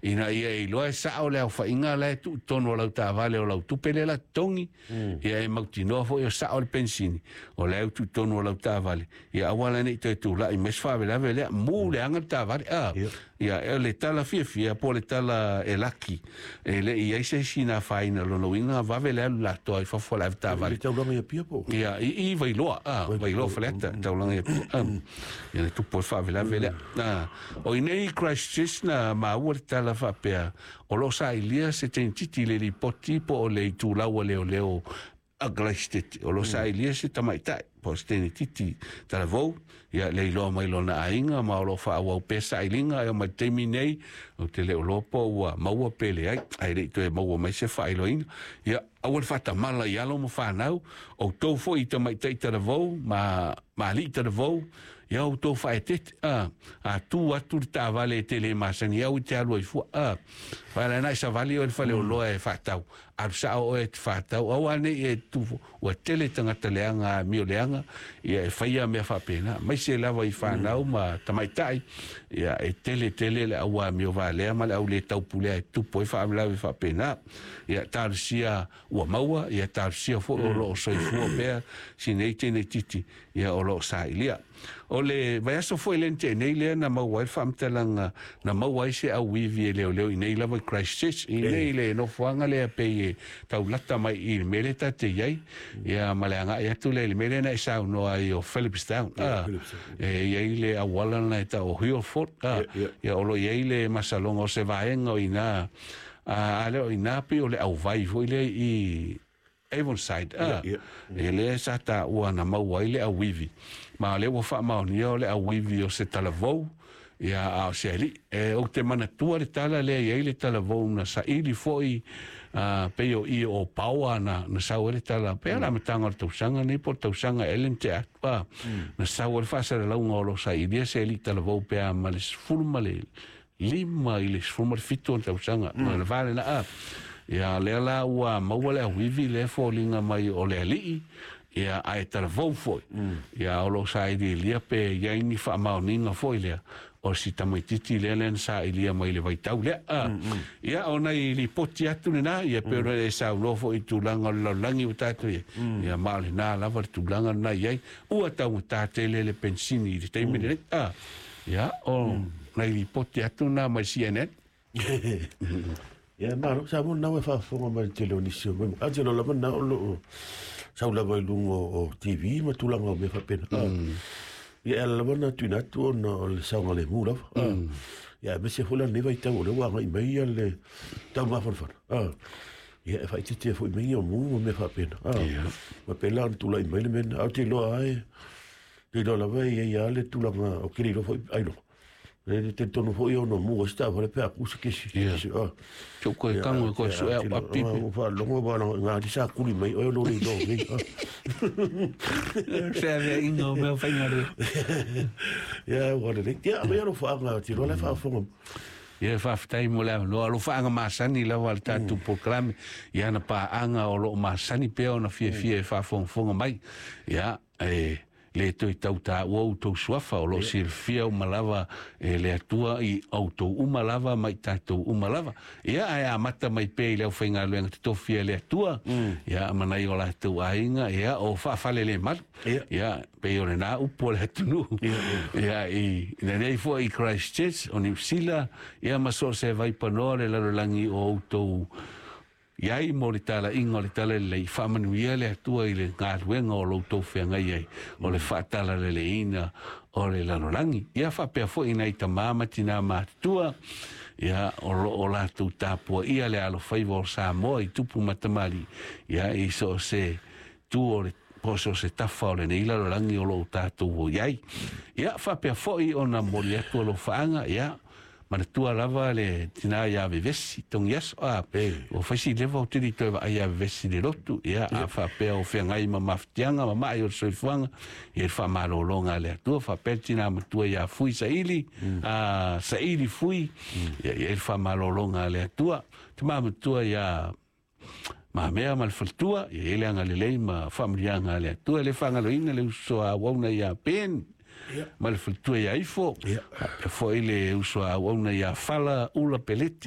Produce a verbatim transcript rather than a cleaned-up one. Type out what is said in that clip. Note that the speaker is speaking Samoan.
Ina ia e iloa e sao le aofaiga la e tuu i totonu o lau taavale o lau tupe lea la totogi, ia e mautinoa foi o sao le penisini o la e tuu i totonu o lau taavale, ia aua la ne i toe tulai mai se faalavelave lea, mu leaga le taavale. A ia o le tala fiafia po o le tala e laki, e le i i ai se isi na afaina. Lona uiga vave le alu latou i fafo o le avetaavale. I le taulaga i Apia po o? Ia, i i Vailoa, a, Vailoa Faleata, taulaga i Apia. A, ia na tupu ai le faalavelave lea. A, o i inei i Christchurch na maua le tala faapea o lo o sailia se teinititi i le lipoti po o le itulau a leoleo a Christchurch, o lo o sailia se tamaitai po o se teinititi talavou, ia le iloa mai lona aiga ma o lo o faaauau pea sailiga e oo mai i le taimi nei. Ou te le o iloa po ua maua pe leai, ae le i toe maua mai se faailoaina. Ia aua le faatamala i alo ma fanau, outou foi i tamaitai talavou ma ma alii talavou, ia outou faaeteete, a, a tu atu le taavale e te le masani au i te alu ai fua, a, vaai la i savali oe i le faleoloa e faatau, alu sao oe e te faatau, aua ne i e tu, ua tele tagata leaga amio leaga, ia e faia mea faapena, aemaise lava i fanau ma tamaitai, ia e tele tele le au amio valea ma le au le taupulea e tupu ai faalavelave faapena. Ia talosia ua maua, ia talosia foi o lo o soifua pea si nei teine titi, ia o lo o sailia. O le vaiaso foi lea na tea nei lea na maua ai le faamatalaga na maua ai se auivi e leoleo i nei lava i Christchurch, i nei le nofoaga lea pei e taulata mai i le mea lea tatou te i ai, ia ma le agai atu lea i le mea lea na e saunoa ai o Phillipstown, a, e i ai le auala na e tau o Heelford, a, ia o lo o i ai le masaloga o se vaega o i ina, a, a lea o i ina pei o le auvai foi lea i Avonside, a, e lea sa taua na maua ai le auivi, ma o lea ua faamaonia o le auivi o se talavou, ia a o se alii. E ou te manatua le tala lea i ai le talavou na saili foi, a, pei o i o Paoa na, na sau ai le tala, pei o le amataga o le tausaga nei po o le tausaga ea le na tea atu, a, na sau ai le faasalalauga o lo o sailia se alii talavou pe a ma le sefulu ma le lima i le sefulu ma le fitu o le tausaga, ma le va lena, a. Ia lea la ua maua le auivi lea e foliga mai o le alii, ia ae talavou foi. Ia o lo o sailiilia pe i ai ni faamaoniga foi lea o si tamaititi lea lea na sailia mai le vaitau lea. A, ia o nai lipoti atu lena, ia pei ona e saunoa foi i tulaga o le lalolagi ua tatou i ai. Ia ma o lena lava le tulaga lena i ai, ua taugata tele le penisini i le taimi lenei. A, ia o nai lipoti atu na mai C N N. Ia malo, sa mo nawe faafofoga mai le tele o nisi o mea. A te lo lava na o lo o sau lava i luga o T V ma tulaga o mea faapena. Ia e ala lava na tuuina atu ona o le saogalemu lava. Ia aemaise foi la lenei vaitau o lea ua agai mai ia le taumafanafana. Ia e faaitiitia foi mai ia o mu ma mea faapena. Ma pei la ona tulai mai le mea lena. Ae ou te iloa lava e, te iloa lava e i ai lava le tulaga o ke le iloa foi ailoga. Le talitonu foi ona mu ai se taavale pe a ku se kesi. Ia. Kesi, ah. Tau koe kango e koe sue au api pe. Ua faalogo wa na ngā sa kuli mai oe lo le iloa nei. Ah. Se avea inga o mea whainga re. Ia, ua lelei. Ia, mai alofaanga, te iloa le faafofoga. Ia, faafetai mo le avanoa. Alofaanga masani lava le tatou polokalame. Ia na paaga o loo masani pea ona fiafia e faafogafoga mai. Ia, e le toe tau taua outou suafa o loo silafia uma lava e le Atua i outou uma lava ma i tatou uma lava. Ia, ae amata mai pea i le aufaigaluega totofi a le Atua, ia, ma nai o latou aiga, ia, o faafalelemalu. Ia, pei o lena upu o le atunuu. Ia, i lenei foi i Christchurch, o Niu Sila, ia, ma so o se vaipanoa le lalolagi o outou iai mo le talaiga o le talalelei, faamanuia le Atua i le galuega o lo outou feagai ai, o le faatalaleleiina o le lalolagi. Ia faapea foi nai tamā ma tinā matutua, ia o lo o latou tapuaia le alofaiva o Samoa i tupu ma tamalii, ia i so o se tu o le po o so o se tafa o lenei lalolagi o lo o tatou o iai. Ia faapea foi ona momoli atu alofaaga, ia manatua lava le tina ia Vevesi tongi aso, a o faisi leva o tele toe vaai ia Vevesi le lotu, ia a faapea o feagai ma mafatiaga ma ma'i o le soifuaga, ia le faamalologa a le Atua. Faapea le tina matua ia Fui Saili, a Saili Fui, ia ia le faamalologa a le Atua. Tama matua ia Mamea ma le faletua, ia ia le agalelei ma faamanuiaga a le Atua. Le faagaloina le uso a auauna ia Ben, ma le faletua ia Ifo, faapea foi le uso a auauna ia Fala Ula Peleti.